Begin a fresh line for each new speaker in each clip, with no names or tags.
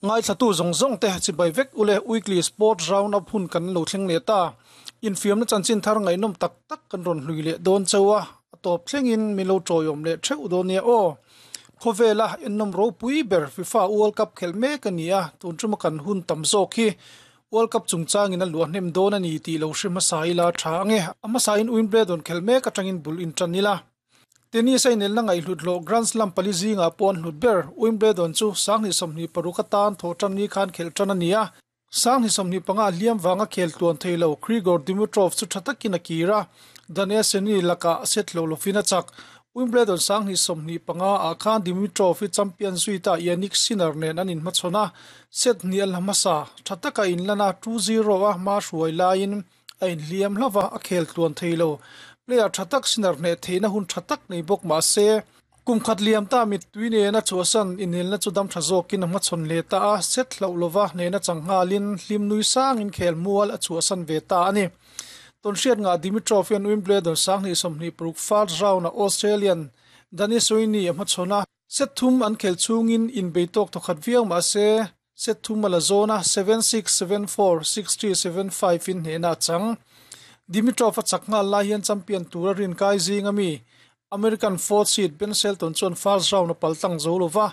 Ngaithlatu zawng zawng te chibai vek ule Weekly Sports Round Up hun kan lo thleng leh ta. Infiamna chanchin thar ngaihnawm tak tak kan rawn hlui leh dawn chauh a, a tawp thlengin min lo tawiawm leh theuh dawn nia aw. Khawvela ennawm ropui ber FIFA World Cup khelh mek a ni a, tun tuma kan hun tam zawk hi World Cup chungchangin a luah hnem dawn a ni tih lo hre hmasa ila tha ange. A hmasain Wimbledon khelh mek atangin bul intan ila. Tennis a inelna ngaihhlut hlawh Grand Slam pali zingah pawh an hlut ber. Wimbledon chu 2026 atan thawh tan ni khan khelh tan a ni a. 2025 a hliam vanga khel tluan thei lo Grigor Dimitrov chu tha takin a kir a, Daniel Seni lakah set hlo lovin a chak. Wimbledon 2025 ah khan Dimitrov hi champion zui ta Jannik Sinner nen an inhmachhawn a, set hnih a la hmasa. Tha taka inlan a, 2-0 a hma hruai laiin a inhliam hlauh a, a khel tluan thei lo. Player tha tak Sinner hneh theihna hun tha tak nei bawk mah se, kum khat liam ta mittui nena chhuahsan inelna chu dam tha zawkin a hmachhawn leh ta a, set hlauh lova hnehna chang nghalin hlim nui sangin khel mual a chhuahsan ve ta a ni. Tawnhriat ngah Dimitrov hian Wimbledon 2026 first round-ah Australian Dani Soini a hmachhawn a, Set thum an khelh chhungin inbei tawk thawkhat viau mah se, set thum a la zawn a, 7-6, 7-4, 6-3, 7-5 in hnehna a chang. Dimitrov a chak nghal lai hian champion tura rinkai zing ami American fourth seed Ben Shelton chuan first round a paltlang zo lo va,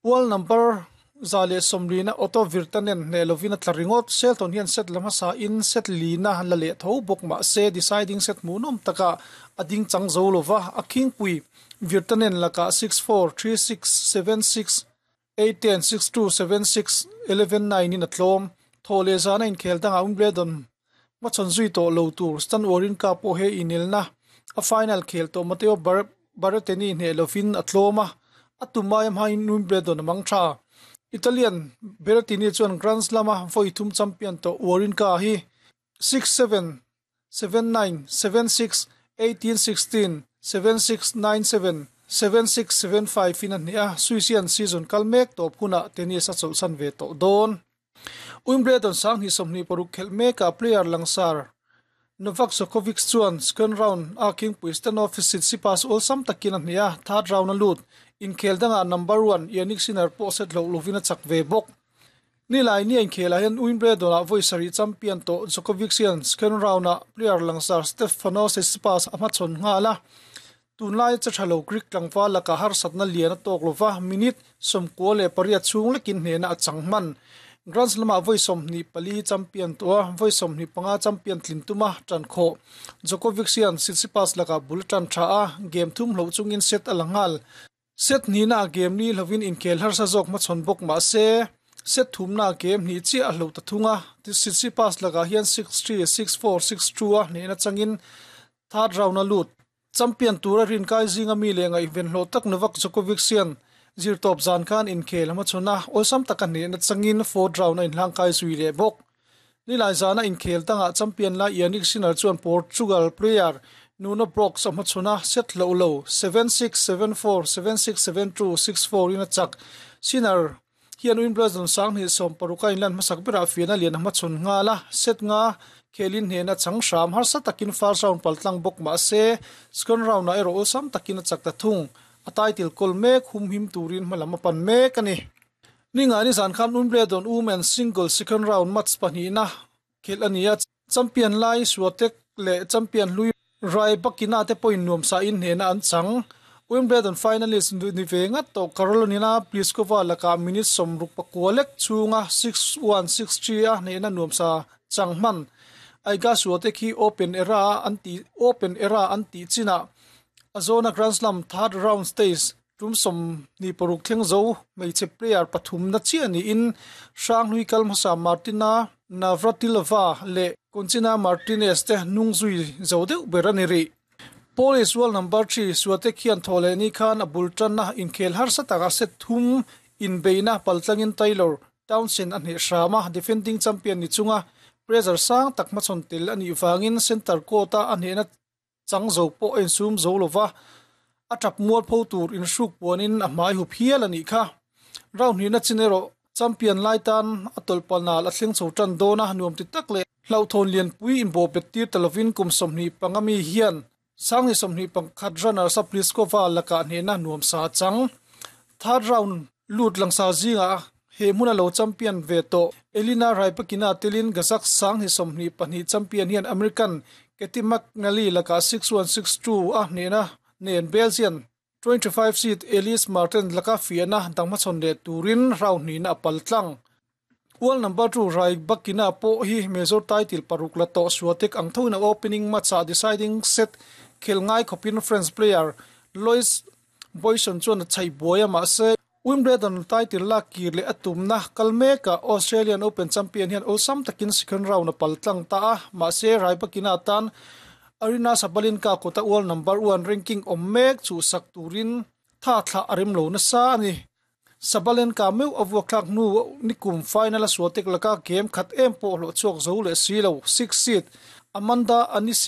world number 140 na Otto Virtanen hneh lovin a tla ringawt. Shelton hian set la hmasa in set lina la leh tho bawk mah se deciding set hmuhnawm takah a ding chang zo lo va, a khingpui Virtanen lakah 6-4, 3-6, 7-6, 8-10, 6-2, 7-6, 11-9 in a tlawm. Thaw leh zana inkhel dangah Wimbledon hmachhawn zui tawh lo tur Stan Wawrinka pawh he inelna a final khel tawh Matteo Berrettini hneh lovin a tlawm a, a tum aia hmain Wimbledon a mang tha. Italian Berrettini chuan Grand Slam-a vawi thum champion tawh Wawrinka hi 6-7, 7-9, 7-6, 18-16, 7-6, 9-7, 7-6, 7-5 in a hneh a, Swiss-ian season kal mek tawp hunah tennis a chawlhsan ve tawh dawn. Wimbledon 2026 khelh mekah player langsar Novak Djokovic chuan second round a khingpui Stanov Tsitsipas awlsam takin a hneh a, third round a lut. Inkhel dangah number one Jannik Sinner pawh set hloh lovin a chak ve bawk. Nilai ni a inkhelah hian Wimbledon-ah vawi sarih champion tawh Djokovic hian second round-ah player langsar Stefanos Tsitsipas a hmachhawn nghal a. Tunlai che tha lo Greek tlangval lakah harsatna lian a tawk lova, minute 98 chhung lekin hnehna a chang hman. Grand Slam-ah vawi 24 champion tawh a, vawi 25 champion tlin tuma tan khawh. Djokovic hian Tsitsipas lakah bul a tan tha a, game thum hloh chungin set a la nghal. Set hnihna a game ni hlovin inkhel harsa zawk hmachhawn bawk mah se, set thumna a game hnih chiah a hlo ta thung a. Tsitsipas lakah hian 6-3, 6-4, 6-2 a hnehna changin third round a lut. Champion tura rinkai zinga mi leh ngaihven hlawh tak Novak Djokovic hian zirtawp zan khan inkhel a hmachhawn a, awlsam taka hnehna changin fourth round a inhlangkai zui leh bawk. Nilai zana inkhel dangah champion lai Jannik Sinner chuan Portugal player Nuno Brocks a hmachhawn a, set hloh lo, 7-6, 7-4, 7-6, 7-2, 6-4 in a chak. Sinner hian Wimbledon 2016 a inlan hmasak berah fiahna lian a hmachhawn nghal a, set nga khelin hnehna chang hram harsa takin first round paltlang bawk mah se, second round ah erawh awlsam takin a chak ta thung. A title kawl mek humhim turin hmalam a pan mek a ni. Ningani zan khan Wimbledon Women's Single second round match pahnihna khelh a ni a, champion lai Swiatek leh champion hlui Rybakina te pawhin nuamsa in hnehna an chang. Wimbledon finalist ni ve ngat tawh Karolina Pliskova lakah minute 64 lek chhunga 6-1, 6-3 a hnehna nuamsa chang hman. Iga Swiatek hi Open era an tih Open era an tih chinah a zawna Grand Slam third round stage Tum 26 thleng zo hmeichhe player pathumna chiah niin Hranghlui kal hmasa Martina Navratilova leh Conchita Martinez te hnung zui zo deuh ber a ni rih. Polish world number 3 Swiatek hian thaw leh ni khan a bul tanna inkhel harsa takah set thum inbeihna paltlangin Taylor Townsend a hneh hram a, defending champion ni chunga pressure sang tak hmachhawn tel a nih vangin center court-a a hnehna Chang zo pawh a insum zo lo va, a tap mual pho tur inhruk puanin a hmai hup hial a nih kha. Round hnihna chin erawh champion lai tan a tawlh pal nal a thleng chho tan dawn a, nuam ti tak leh hlauhthawn lianpui inbawh bet tir ta lovin kum 25 mi hian 2021 runners up Pliskova lakah hnehna nuam sa a chang. Third round lut langsar zingah. He hmuna lo champion ve tawh Elina Rybakina telin Kazakh 2024 champion hian American Caty McNally lakah 6-1 6-2 a hnehna nen Belgian 25 seed Elise Mertens laka fiahna dang hmachhawn leh turin round hnihna a pal tlang. World number 2 Rybakina pawh hi major title paruk la tawh Swiatek ang thoin a opening match-ah deciding set khel ngai khawpin French player Lois Boisson chuan a chhaih buai a, mahse Wimbledon title lak kir leh a tumna kal mekah Australian Open champion hian awlsam takin second round a pal tlang ta a, mahse Rybakina tan Aryna Sabalenka kawta world number 1 ranking awm mek chhuhsak turin tha thlah a rem lo nasa a ni. Sabalenka meuh a vuak thlak hnu nikum final a Swiatek laka game khat em pawh hlawh chhuak zo leh si lo six seed Amanda Anisimova.